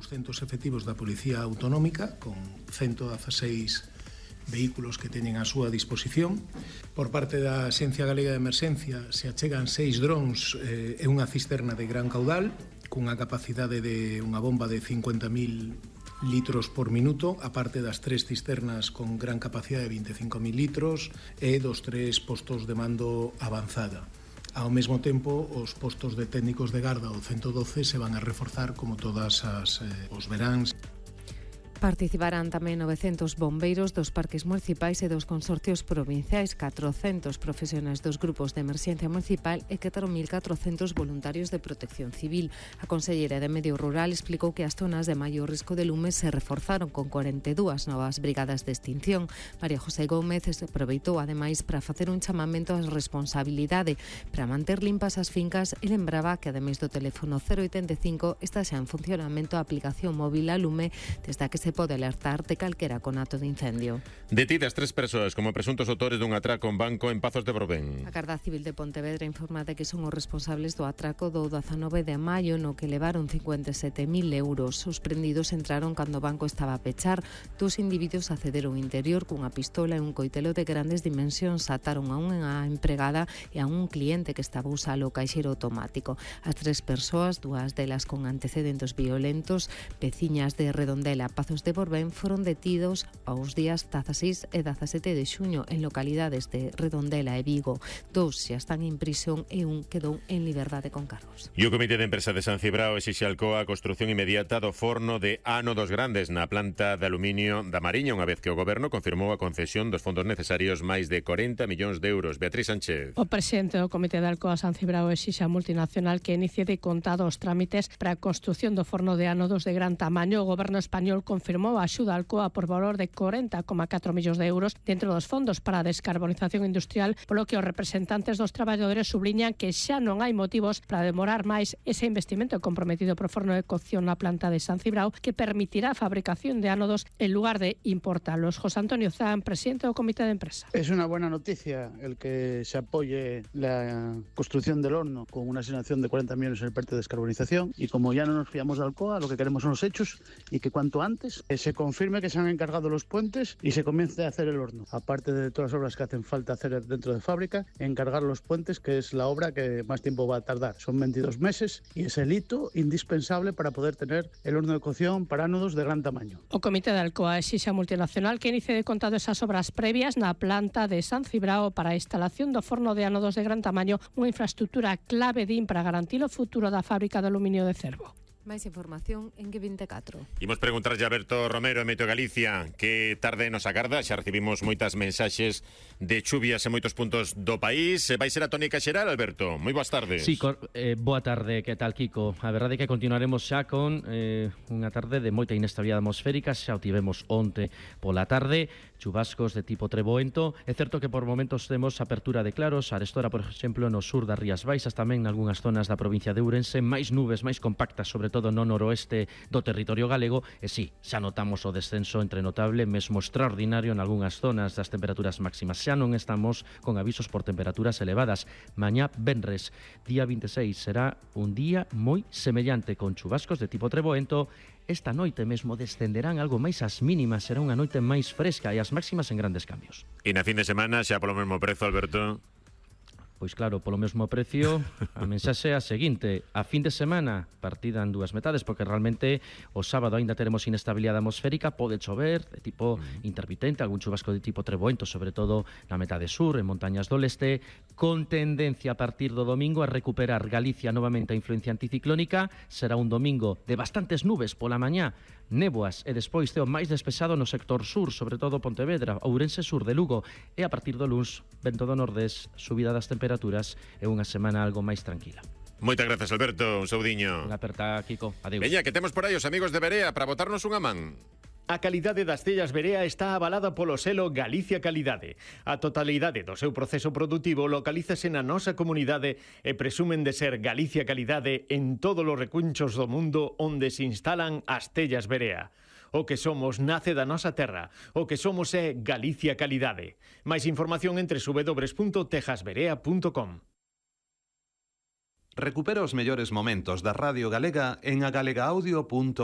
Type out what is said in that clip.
200 efectivos da Policía Autonómica, con 116 vehículos que teñen a súa disposición. Por parte da Axencia Galega de Emerxencia se achegan 6 drons e unha cisterna de gran caudal, cunha capacidade de unha bomba de 50.000 litros por minuto, aparte das 3 cisternas con gran capacidade de 25.000 litros e dos 3 postos de mando avanzada. Ao mesmo tempo, os postos de técnicos de garda do 112 se van a reforzar como todas os veráns. Participarán tamén 900 bombeiros dos parques municipais e dos consorcios provinciais, 400 profesionais dos grupos de emerxencia municipal e 4.400 voluntarios de protección civil. A conselleira de Medio Rural explicou que as zonas de maior risco de lume se reforzaron con 42 novas brigadas de extinción. María José Gómez aproveitou ademais para facer un chamamento á responsabilidade para manter limpas as fincas e lembraba que ademais do teléfono 085 está xa en funcionamento a aplicación móvil a lume desde a que se pode alertar de calquera conato de incendio. Detidas 3 persoas como presuntos autores dun atraco en banco en Pazos de Borbén. A Garda Civil de Pontevedra informa de que son os responsables do atraco do 19 de maio no que levaron 57.000 euros. Os prendidos entraron cando o banco estaba a pechar. 2 individuos accederon ao interior cunha pistola e un coitelo de grandes dimensións. Ataron a unha empregada e a un cliente que estaba a usar o caixeiro automático. As 3 persoas, 2 delas con antecedentes violentos, veciñas de Redondela, Pazos de Borbén, foron detidos aos días 16 e 17 de xuño en localidades de Redondela e Vigo. 2 xa están en prisión e un quedou en liberdade con cargos. E o Comité de Empresa de San Cibrao exixe a Alcoa a construción inmediata do forno de ánodos grandes na planta de aluminio da Mariña, unha vez que o Goberno confirmou a concesión dos fondos necesarios, máis de 40 millóns de euros. Beatriz Sánchez. O presidente do Comité de Alcoa San Cibrao exixe a multinacional que inicie de contado os trámites para a construción do forno de ánodos de gran tamaño. O Goberno español confirmou a axuda a Alcoa por valor de 40,4 millóns de euros dentro dos fondos para a descarbonización industrial, polo que os representantes dos traballadores subliñan que xa non hai motivos para demorar máis ese investimento comprometido por forno de cocción na planta de San Cibrao, que permitirá a fabricación de ánodos en lugar de importarlos. José Antonio Zan, presidente do Comité de Empresa. Es una buena noticia el que se apoye la construcción del horno con una asignación de 40 millones en el parte de descarbonización, y como ya no nos fiamos de Alcoa, lo que queremos son los hechos y que cuanto antes se confirme que se han encargado los puentes y se comience a hacer el horno. Aparte de todas las obras que hacen falta hacer dentro de fábrica, encargar los puentes, que es la obra que más tiempo va a tardar. Son 22 meses y es el hito indispensable para poder tener el horno de cocción para ánodos de gran tamaño. O Comité de Alcoa exixe a multinacional que inicie de contado esas obras previas na planta de San Cibrao para a instalación do forno de ánodos de gran tamaño, unha infraestructura clave para garantir o futuro da fábrica de aluminio de Cervo. Máis información en G24. Imos preguntarlle a Alberto Romero en Meteo Galicia que tarde nos agarda. Xa recibimos moitas mensaxes de chuvias en moitos puntos do país. Vai ser a tónica xeral, Alberto? Moi boas tardes. Sí, boa tarde, que tal, Kiko? A verdade é que continuaremos xa con unha tarde de moita inestabilidade atmosférica. Xa o tivemos onte pola tarde, chubascos de tipo treboento. É certo que por momentos temos apertura de claros, arestora, por exemplo, no sur das Rías Baixas, tamén nalgúnas zonas da provincia de Ourense, máis nubes, máis compactas, sobre todo no noroeste do territorio galego, e sí, xa notamos o descenso entre notable, mesmo extraordinario en algunhas zonas das temperaturas máximas. Xa non estamos con avisos por temperaturas elevadas. Mañá, venres, día 26, será un día moi semellante, con chubascos de tipo treboento. Esta noite mesmo descenderán algo máis as mínimas, será unha noite máis fresca e as máximas en grandes cambios. E na fin de semana xa polo mesmo prezo, Alberto? Pois claro, polo mesmo precio, a mensaxe é a seguinte: a fin de semana partida en dúas metades, porque realmente o sábado aínda teremos inestabilidade atmosférica, pode chover de tipo intermitente, algún chubasco de tipo treboento, sobre todo na metade sur, en montañas do leste, con tendencia a partir do domingo a recuperar Galicia novamente a influencia anticiclónica. Será un domingo de bastantes nubes pola mañá, néboas e despois ceo máis despexado no sector sur, sobre todo Pontevedra, Ourense sur de Lugo, e a partir do luns, vento do nordés, subida das temperaturas e unha semana algo máis tranquila. Moitas grazas, Alberto, un saudiño. Unha aperta, Kiko, adeus. Veña, que temos por aí os amigos de Berea para botarnos unha man. A calidade das tellas Berea está avalada polo selo Galicia Calidade. A totalidade do seu proceso produtivo localízase na nosa comunidade e presumen de ser Galicia Calidade en todos os recunchos do mundo onde se instalan as tellas Berea. O que somos nace da nosa terra. O que somos é Galicia Calidade. Máis información entre www.tejasberea.com. Recupera os mellores momentos da Radio Galega en agalegaudio.gal.